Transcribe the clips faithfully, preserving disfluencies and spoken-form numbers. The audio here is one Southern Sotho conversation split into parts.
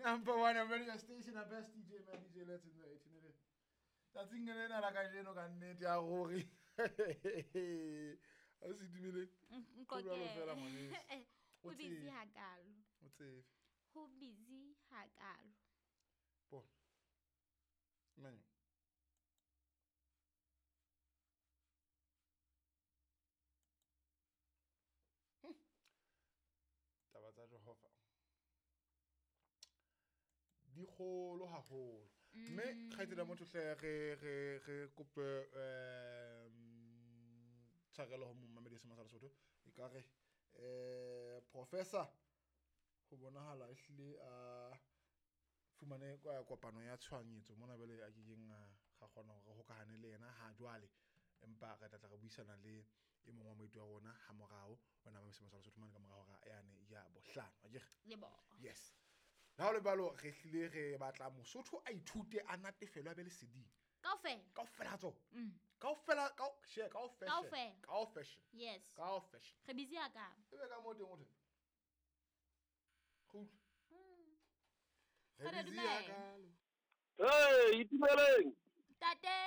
Number one on radio station and best D J, man, D J Let's in the eighteen. Tsatsing lena la kajeno ka nnete ya gore. A se dumele. Nko Ho jwalo fela, ngwaneso. Ho O busy tsebe. hakalo. O tsebe. Ho busy hakalo. Bo. Manyo. Hm. Taba tsa Jehova di kgolo haholo. Mme kgaitsedi ya motho hle re re re kope um tshwarelo ho momamedi se Masala Sotho. Ekare eh professor ho bonahala ehlile a fumane kopano ya tshohanyetso mona bele a kekeng a ga kgona hore hokahane le yena ha jwale, empa re tla tla re buisana le e mong wa moeti wa rona ha morao ona mamese Masala Sotho mane ka mora hora yane ya bohlano akere. Lebo. Yes. La ho le balo re hlile re batla Mosotho a ithute a natefelwe a be leseding. Kaofela. Kaofela tso. Mm. Kaofela ka share kaofela. Kaofela. Kaofela. Yes. Kaofela. Re busy ya ka. Ebe ka mo teng o teng. Kgutla. Mm. Re Re busy ya dumela. kalo. Hey, itumeleng. Tate.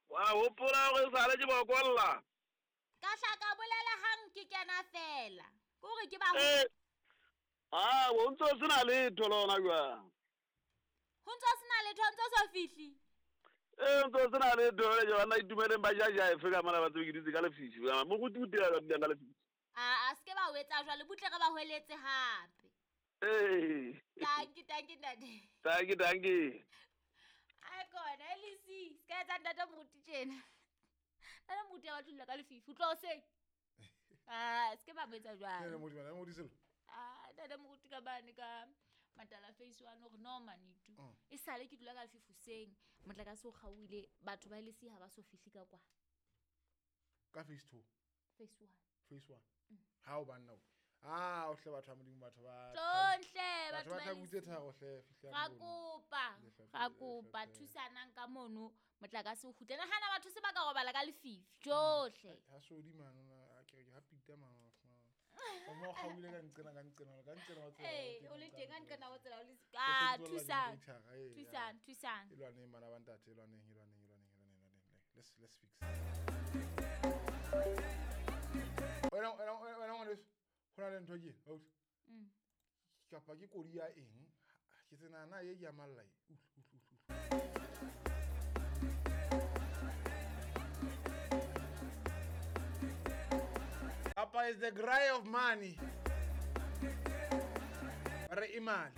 Wa hopola hore sale ke bokolla. Ka hlaka bolela hang ke kena fela. Ke hore ke ba Eh. Ah, o ntso sena letho lona jwang? Ho ntso sena letho, ho ntso so fihli. Eh, ntso sena letho le jwana itumeleng ba jaja efe ka mona ba tsebe ke dutse ka lefifi. Moruti o dira ka ka lefifi. Ah, a se ke ba o etsa jwale, butle re ba hweletse hape. Eh. Dankie, dankie ntate. Dankie, dankie. Ai kona, Elisi, se ka etsa ntate moruti tjena. Ntate moruti a batla ka lefifi, o tlo hoseng. Ah, se ke ba mo etsa jwale. Ntate moruti, ntate moruti selo. Ah, ntate moruti ka bane ka matala face one hore no manitu. Mm. E sale ke dula ka lefifi hoseng, motlakase o kgaohile, batho ba Elisi ha ba so fihle ka kwa. Ka phase two. Phase one. Phase one. Ha o banna o. Ah, o hle batho ba Modimo, batho ba Tlontle, batho batho ba ba tlabutse Elisi. tharo hle fihla Ra mono. kopa, Lefapha ra le kopa lefapha. thusanang ka mono motlakase o kgutle. Nahana batho se ba ka robala ka lefifi tjohle. Ha sodi mano, a ke re ha pita mano. O mo kgaohile ka nqena ka nqena ka nqena wa tsela. Eh, o le teng ka nqena wa tsela o le Ke ah, sentse o thusang. lwaneng thara, eh, Thusang, ya. thusang. E lwaneng bana ba ntate, e lwaneng, e lwaneng, e lwaneng, e lwaneng, e lwaneng. Let's, let's fix. Wena, wena, wena ngwaneso, ho na le ntho ke, ausi. Mm. Kapa ke kodi ya eng? Ke tsena na ye ke ya malla e. Utlwe, utlwe, utlwe, utlwe. Papa is the cry of money. Re imali.